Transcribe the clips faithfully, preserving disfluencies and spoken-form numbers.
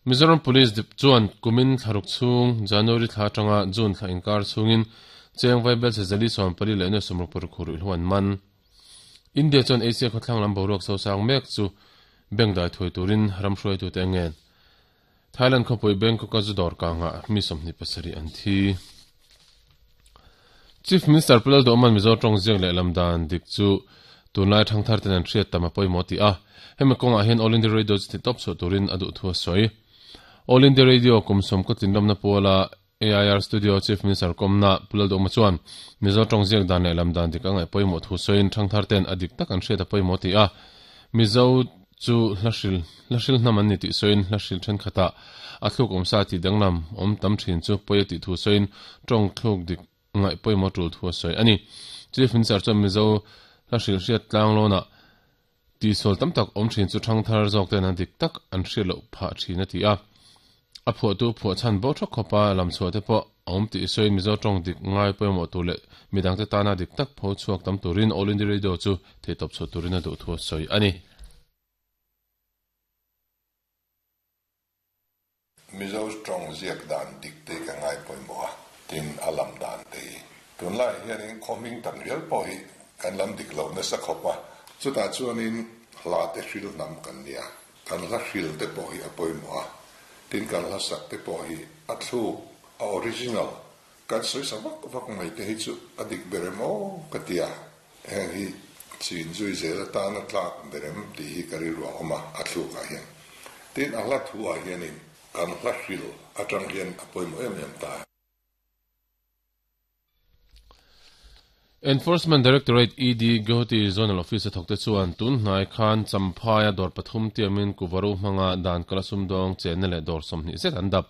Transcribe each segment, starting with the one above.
Mizoram Police dip chuan kumin thlaruk chung January thla atanga June thla inkar chungin cheng vaibel che zali sawm pali leh nuai sawmruk paruk hu ruihhlo an man. India chuan Asia khawthlang lam boruak so sang mek chu bengdai thui turin ram hruai tu te ngen. Thailand khawpui Bangkok a zu dawr kanga mi sawmhnih pasarih an thi. Chief Minister Pu Lalduhawma'n Mizo tawng ziak leh lam dan dik chu tunlai thangthar ten an hriat tam a pawimawh ti a. Hemi kawngah hian All India Radio chu ti tawp chhuah turin a duh thu a sawi. All India Radio kum sawm kaw tlinlawmna puala A I R Studio Chief Minister kawmna Pu Lalduhawma chuan Mizo tawng ziak dan leh lam dan dik a ngaih pawimawh thu sawiin thangthar ten a dik tak an hriat a pawimawh ti a. Mizo chu hla hril hla hril hnam an ni tih sawiin hla hril thenkhatah a thluk awm sa tih danglam awm tam thin chu pawi a tih thu sawiin tawng thluk dik ngaih pawimawh tul thu a sawi a ni. Chief Minister chuan Mizo hla hril hriat tlang lawnah tihsual tam tak awm thin chu thangthar zawk ten an dik tak an hriat loh phah thin a ti a. A phuahtu phuah chhan bo thawk khawpa lam chhuah te pawh a awm tih sawiin Mizo tawng dik ngai pawimawh tur leh midangte tana dik tak pho chhuak tam turin All India Radio chu theihtawp chhuah turin a duh thu a sawi a ni. Mizo tawng ziak dan dik te ka ngai pawimawh a, tin a lam dan te hi. Tunlai hianin khawhming tam rial pawh hi kan lam dik lo nasa khawp a, chutah chuanin hla te hril hnam kan nia, kan hla hril te pawh hi a pawimawh a, tin kan hla sak te pawh hi a thluk, a original, kan sawi sa vak vak mai te hi chu a dik ber em aw ka ti a, heng hi chin zui zel atana tlak ber em tih hi ka rilru a awm a, a thlukah hian. Tin a hla thu ah hianin kan hla hril atang hian a pawimawh em em ta. Enforcement Directorate E D Guwahati Zonal Office a thawkte chuan tun hnai khan Champhaia dawr pathum tiamin Kuvaru hmanga dan kala sumdawng chenna leh dawr sawmhnih zet an dap.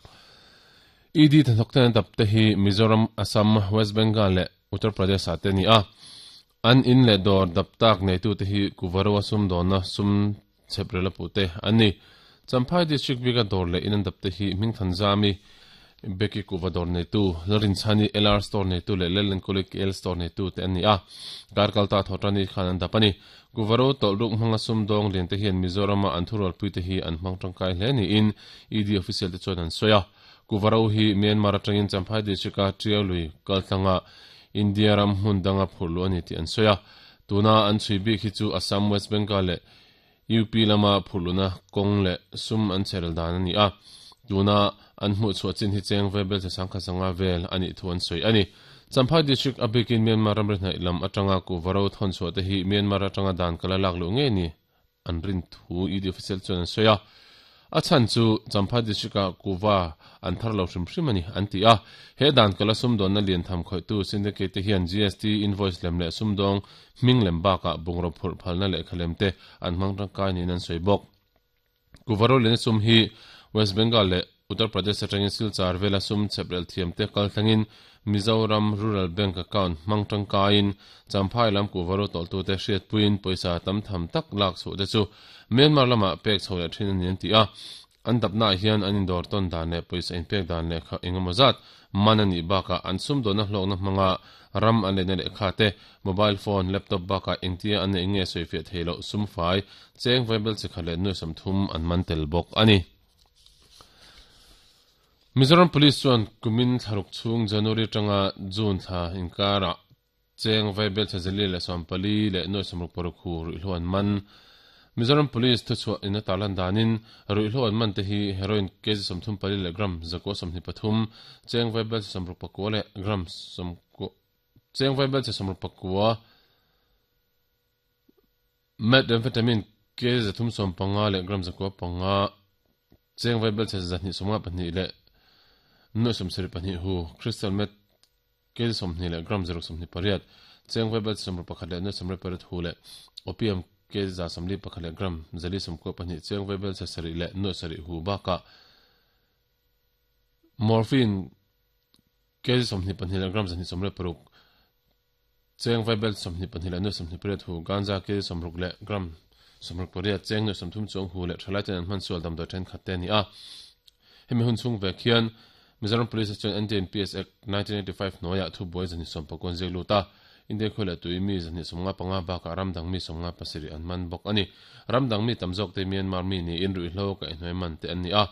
E D thawkte an dap te hi Mizoram, Assam, West Bengal leh Uttar Pradesh ah te ni a. An in leh dawr dap tak neitu te hi Kuvaru a sumdawnna sum chheprel a puh te an ni. Champhai District bika dawr leh in an dap te hi Hmingthan Zami, Beki Kuva dawr neitu, Lalrinchhani L R Store neitu leh Lelenkawli K L Store neitu te an ni a. Karkalta thawtani khan an dap a ni. Kuvaro tawlhruk hmanga sumdawng lian te hian Mizorama an thurualpui te hi an hmang tangkai hle niin E D official te chuan an sawi a. Kuvaro hi Myanmar atangin Champhai District a Tiaului kaltlanga India ram hmun danga phurhluh a ni tih an sawi a. Tuna an chhui bik hi chu Assam, West Bengal leh U P lama phurhluhna kawng leh sum an cherel dan a ni a. Tuna an hmuh chhuah chin hi cheng vel che sangkha sanga vel a nih thu an sawi a ni. Champhai District a bikin Myanmar ramri hnaih lam atanga Kuvaro thawn chhuah te hi Myanmar atanga dan kala lak luh ngei ni an rin thu E D official chuan an sawi a. A chhan chu Champhai District a Kuva an thar lo hrim hrim a ni an ti a. He dan kala sumdawnna lian tham khawihtu syndicate te hian G S T invoice lem leh sumdawng hming lem bakah bungraw phurh phalna leh khalem te an hmang tangkai niin an sawi bawk. Kuvaro lian sum hi West Bengal leh Uttar Pradesh atangin Silchar vela sum chheprel thiam te kal thlengin Mizoram Rural Bank account hmang tangkaiin Champhai lam Kuvaro tawltu te hriatpuiin pawisa tam tham tak lak chhuah te chu Myanmar lamah pek chho leh thin a ni an ti a. An dapnaah hian an indawr tawn dan leh pawisa inpek dan leh kha engemaw zat man a nih bakah an sumdawnna hlawkna hmanga ram an lehna lehkha te, mobile phone, laptop bakah engtia an neih nge sawifiah thei loh sum fai, cheng vaibel chikhat leh nuai sawmthum an man tel bawk a ni. Mizoram Police chuan kumin thlaruk chhung January atanga June thla inkarah cheng vaibel chazali leh sawmpali leh nuai sawmruk paruk hu ruihhlo an man. Mizoram Police thuchhuah in a tarlan danin ruihhlo an man te hi heroin kg sawmthum pali leh gram zakua sawmhnih pathum, cheng vaibel che sawmruk pakua leh gram sawmkua cheng vaibel che sawmruk pakua methamphetamine kg zathum sawm panga leh gram zakua panga, cheng vaibel che zahnih sawmnga pahnih leh nuai sawmsarih pahnih hu crystal meth kg sawmhnih leh gram zaruk sawmhnih pariat, cheng vaibel che sawmruk pakhat leh nuai sawmriat pariat hu leh opium kg za sawmli pakhat leh gram zali sawmkua pahnih, cheng vaibel che sarih leh nuai sarih hu bakah morphine kg sawmhnih pahnih leh gram zahnih sawmriat paruk, cheng vaibel sawmhnih pahnih leh nuai sawmhnih pariat hu, ganja kg sawmruk leh gram sawmruk pariat, cheng nuai sawmthum chuang hu leh thalai ten an hman sual damdawi thenkhat te a ni a. Hemi hun chhung vek hian Mizoram Police chuan N D N P S Act nineteen eighty-five hnuaiah thubuai zahnih sawm pakua ziak lut a, India khawi leh tui mi zahnih sawmnga panga bakah ramdang mi sawmnga pasarih an man bawk a ni. Ramdang mi tam zawk te Myanmar mi niin ruihhlo kaihhnuai man te an ni a.